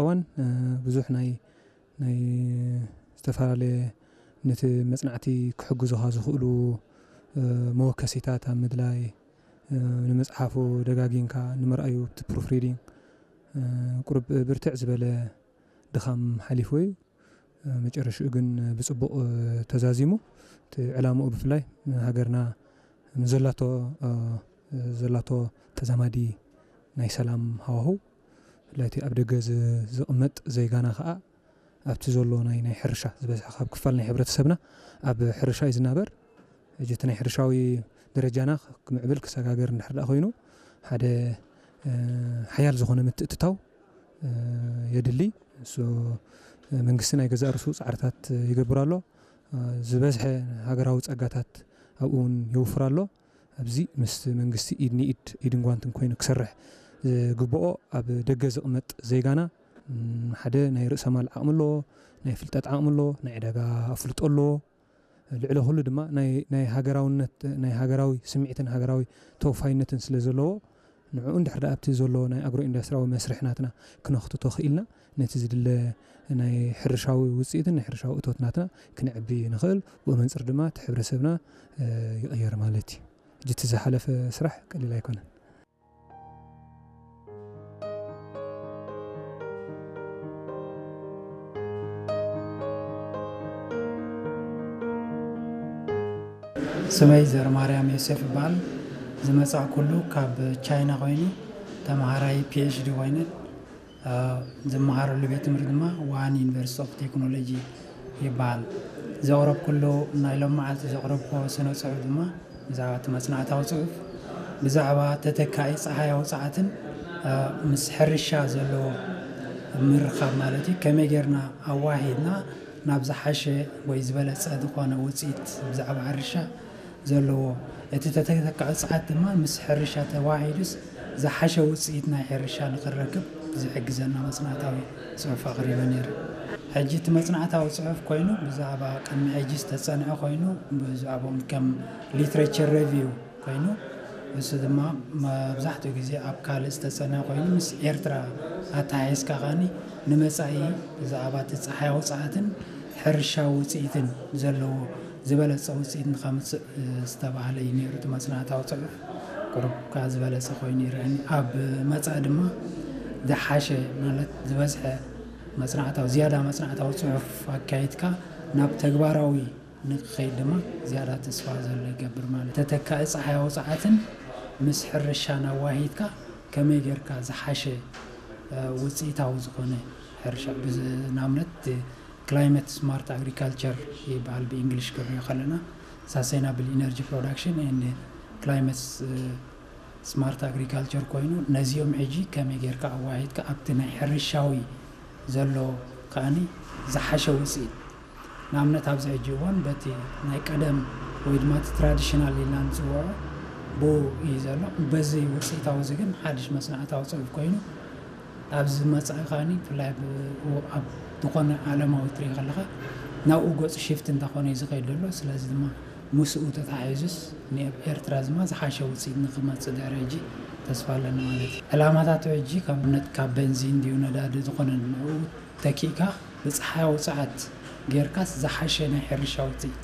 እዋን ብዙሕ ናይ ናይ ዝተፈላለየ ነቲ መጽናዕቲ ክሕግዙኻ ዝኽእሉ መወከሲታት ኣብ ምድላይ፣ ንመጽሓፉ ደጋጊምካ ንምርኣዩ ኣብቲ ፕሩፍ ሪዲንግ ቁሩብ ብርትዕ ዝበለ ድኻም ሓሊፍዎ እዩ። መጨረሽኡ ግን ብጽቡቕ ተዛዚሙ። እቲ ዕላምኡ ብፍላይ ሃገርና ንዘላቶ ዘላቶ ተዛማዲ ናይ ሰላም ሃዋህው፣ ብፍላይ እቲ ኣብ ደገ ዝ- ዝቕመጥ ዜጋና ከኣ ኣብቲ ዘሎ ናይ ናይ ሕርሻ ዝበዝሐ ካብ ክፋል ናይ ሕብረተሰብና ኣብ ሕርሻ እዩ ዝናበር። ሕጂ እቲ ናይ ሕርሻዊ ደረጃና ክምዕብል ክሰጋገር እንድሕር ደኣ ኮይኑ ሓደ ሓያል ዝኾነ ምትእትታው የድሊ። እሱ መንግስቲ ናይ ገዛእ ርእሱ ጻዕርታት ይገብር ኣሎ። ዝበዝሐ ሃገራዊ ጸጋታት ኣብኡ እውን የውፍር ኣሎ። ኣብዚ ምስ መንግስቲ ኢድ ንኢድ ኢድን ጓንትን ኮይኑ ክሰርሕ ዝግብኦ ኣብ ደገ ዝቕመጥ ዜጋና ሓደ ናይ ርእሰ ማል ዓቕሚ ኣለዎ፣ ናይ ፍልጠት ዓቕሚ ኣለዎ፣ ናይ ዕዳጋ ኣፍልጦ ኣለዎ። ልዕሊ ኩሉ ድማ ናይ ናይ ሃገራውነት ናይ ሃገራዊ ስምዒትን ሃገራዊ ተወፋይነትን ስለ ዘለዎ ንዕኡ እንድሕር ደኣ ኣብቲ ዘሎ ናይ ኣግሮ ኢንዱስትሪያዊ መስርሕ ናትና ክነኽትቶ ክኢልና ነቲ ዝድለ ናይ ሕርሻዊ ውፅኢትን ናይ ሕርሻዊ እቶት ናትና ክነዕቢ ንኽእል። ብኡ መንፅር ድማ እቲ ሕብረተሰብና ይቕየር ማለት እዩ። ሕጂ እቲ ዝሓለፈ ስራሕ ቀሊል ኣይኮነን። ስመይ ዘርማርያም ዮሴፍ ይበሃል። ዝመጻእኩሉ ካብ ቻይና ኮይኑ ተምሃራይ ፒኤችዲ ኮይነ ዝመሃረሉ ቤት ትምህርቲ ድማ ዋን ዩኒቨርሲቲ ኦፍ ቴክኖሎጂ ይበሃል። ዘቕረብኩሉ ናይ ሎም መዓልቲ ዘቕረብኩዎ ስነ ጽሑፍ ድማ ብዛዕባ እቲ መጽናዕታዊ ጽሑፍ ብዛዕባ ተተካኢ ጸሓያዊ ጸዓትን ምስ ሕርሻ ዘለዎ ምርኻብ ማለት እዩ። ከመይ ጌርና ኣዋሂድና ናብ ዝሓሸ ወይ ዝበለጸ ዝኾነ ውጽኢት ብዛዕባ ሕርሻ ዘለዎ እቲ ተተካኢ ጸዓት ድማ ምስ ሕርሻ ተዋሂዱስ ዝሓሸ ውጽኢት ናይ ሕርሻ ንኽንረክብ ዝሕግዘና መጽናዕታዊ ጽሑፍ ኣቕሪበ ነይረ። ሕጂ እቲ መጽናዕታዊ ጽሑፍ ኮይኑ ብዛዕባ ቅድሚ ሕጂ ዝተጸንዐ ኮይኑ ብዛዕባኦም ከም ሊትሬቸር ሬቪው ኮይኑ እሱ ድማ መብዛሕትኡ ግዜ ኣብ ካልእ ዝተጸንዐ ኮይኑ ምስ ኤርትራ ኣተሓሒዝካ ከኣኒ ንመጻኢ ብዛዕባ እቲ ጸሓያዊ ጸዓትን ሕርሻዊ ውጽኢትን ዘለዎ ዝበለጸ ውጽኢት ንኸምጽእ ዝተባህለ እዩ ነይሩ እቲ መጽናዕታዊ ጽሑፍ። ቁሩብ ከኣ ዝበለጸ ኮይኑ ይረኣኒ። ኣብ መጻኢ ድማ ዝሓሸ ማለት ዝበዝሐ መጽናዕታዊ ዝያዳ መጽናዕታዊ ጽሑፍ ኣካይድካ ናብ ተግባራዊ ንክኸይድ ድማ ዝያዳ ተስፋ ዘሎ ይገብር ማለት ተተካኢ ጸሓያዊ ጸዓትን ምስ ሕርሻን ኣዋሂድካ ከመይ ጌርካ ዝሓሸ ውፅኢታዊ ዝኾነ ሕርሻ ንኣብነት ክላይመት ስማርት ኣግሪካልቸር ይበሃል ብእንግሊሽ ክንሪኦ ከለና ሳስቴናብል ኢነርጂ ፕሮዳክሽን ኤንድ ክላይመት ስማርት ኣግሪካልቸር ኮይኑ ነዚኦም ሕጂ ከመይ ጌርካ ኣዋሂድካ ኣብቲ ናይ ሕርሻዊ ዘሎ ከኣኒ ዝሓሸ ውፅኢት ንኣብነት ኣብዚ ሕጂ እዋን በቲ ናይ ቀደም ወይ ድማ እቲ ትራዲሽናል ኢልና ንፅውዖ ብኡ እዩ ዘሎ። በዚ ውፅኢታዊ እዚ ግን ሓድሽ መፅናዕታዊ ፅሑፍ ኮይኑ ኣብዚ መፃኢ ከኣኒ ብፍላይ ኣብ ዝኾነ ዓለማዊ ትርኢ ከለኻ ናብኡ ገፁ ሽፍት እንተኾነ እዩ ዝኸይድ ዘሎ። ስለዚ ድማ ምስኡ ተታሒዙስ ንኣብ ኤርትራ ድማ ዝሓሸ ውፅኢት ንክመፅእ ድሕሪ ሕጂ ተስፋ ኣለኒ ማለት እዩ። ዕላማታቱ ሕጂ ካብ ኣብነት ካብ በንዚን ድዩ ነዳዲ ዝኾነ ንኡ ተኪእካ ብፀሓያዊ ፀዓት ጌርካስ ዝሓሸ ናይ ሕርሻ ውፅኢት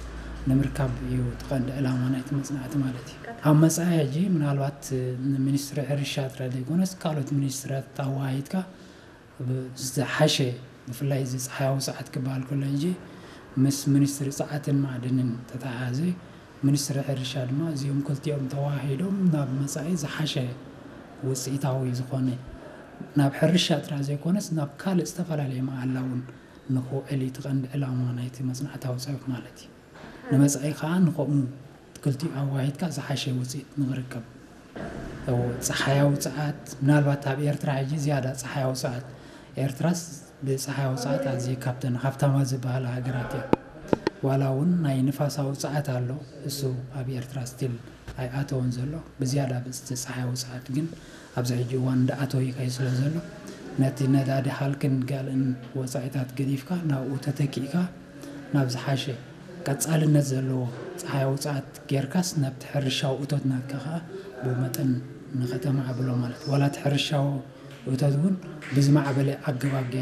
ንምርካብ እዩ እቲ ቀንዲ ዕላማ ናይቲ መፅናዕቲ ማለት እዩ። ኣብ መፃኢ ሕጂ ምናልባት ንሚኒስትሪ ሕርሻ ጥራይ ዘይኮነስ ካልኦት ሚኒስትሪታት ኣወሃሂድካ ዝሓሸ ብፍላይ እዚ ፀሓያዊ ፀዓት ክበሃል ከሎ ሕጂ ምስ ሚኒስትሪ ፀዓትን ማዕድንን ተተሓሓዘ ሚኒስትሪ ሕርሻ ድማ እዚኦም ክልቲኦም ተወሃሂዶም ናብ መፃኢ ዝሓሸ ውፅኢታዊ ዝኾነ ናብ ሕርሻ ጥራሕ ዘይኮነስ ናብ ካልእ ዝተፈላለየ መዓላ እውን ንክውዕል እዩ እቲ ቀንዲ ዕላማ ናይቲ መፅናዕታዊ ፅሑፍ ማለት እዩ። ንመፃኢ ከዓ ንከምኡ ክልቲኡ ኣዋሂድካ ዝሓሸ ውፅኢት ንክርከብ ፀሓያዊ ፀዓት ምናልባት ኣብ ኤርትራ ሕጂ ዝያዳ ፀሓያዊ ፀዓት ኤርትራስ ብፀሓያዊ ፀዓት ኣዝየ ካብተን ሃብታማት ዝበሃላ ሃገራት እያ። ዋላ እውን ናይ ንፋሳዊ ፀዓት ኣሎ እሱ ኣብ ኤርትራ ስቲል ኣይኣተወን ዘሎ ብዝያዳ ብፅቲ ፀሓያዊ ፀዓት ግን ኣብዚ ሕጂ እዋን እንዳኣተወ ይኸይድ ስለ ዘሎ ነቲ ነዳዲ ሃልክን ጋልእን ወፃኢታት ገዲፍካ ናብኡ ተተኪእካ ናብ ዝሓሸ ቀፃልነት ዘለዎ ፀሓያዊ ፀዓት ጌርካስ ናብቲ ሕርሻዊ እቶት ናትካ ከዓ ብመጠን ንኸተማዕብሎ ማለት ዋላ እቲ ሕርሻዊ ታት እውን ብዝማዕበለ ኣገባብ ገይሩ